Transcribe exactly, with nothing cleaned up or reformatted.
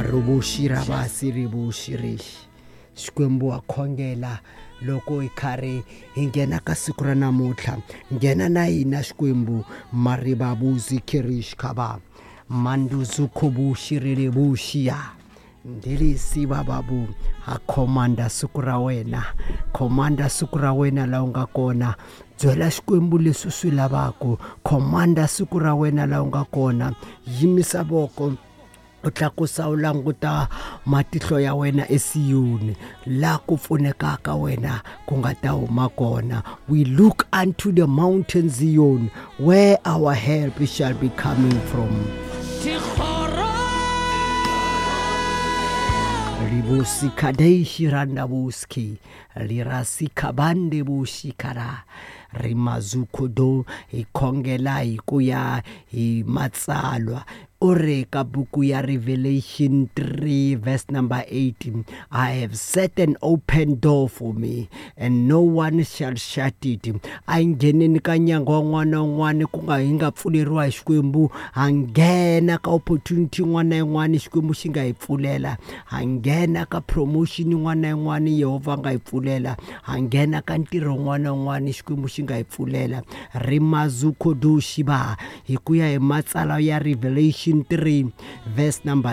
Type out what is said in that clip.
Marubushi rabasi ribushi rishi. Xikwembu wa khongela loko hi karhi hi nghena ka siku ra namuntlha, nghena na hina Xikwembu. Maribabuzi kirish khaba manduzu khubushi rilebuxiya ndelisi bababu. Ha khomanda siku ra wena, khomanda siku ra wena laha u nga kona, byela Xikwembu leswi u swi lavaka. Khomanda siku ra wena laha u nga kona, yimisa voko u tlakusa u languta matihlo ya wena esiyoni, laha ku pfunekaka wena ku nga ta huma kona. We look unto the mountain Zion, where our help shall be coming from. Ribusi kadeishi randabuski lirasi kabande bushikara rimazuko do. Hi khongela hi ku ya hi matsalwa. U ri ka buku ya Revelation three verse number eight, I have set an open door for me and no one shall shut it. A hi ngheneni ka nyangwa wun'wana na wun'wana ku nga hi nga pfuleriwa hi Xikwembu. Ha nghena ka opportunity yin'wana na yin'wana Xikwembu xi nga hi pfulela. Ha nghena ka promotion yin'wana na yin'wana Yehovha a nga hi pfulela. Ha nghena ka ntirho wun'wana na wun'wana Xikwembu xi nga hi pfulela. Rimazuko do shiba hi ku ya hi matsalwa ya Revelation three verse number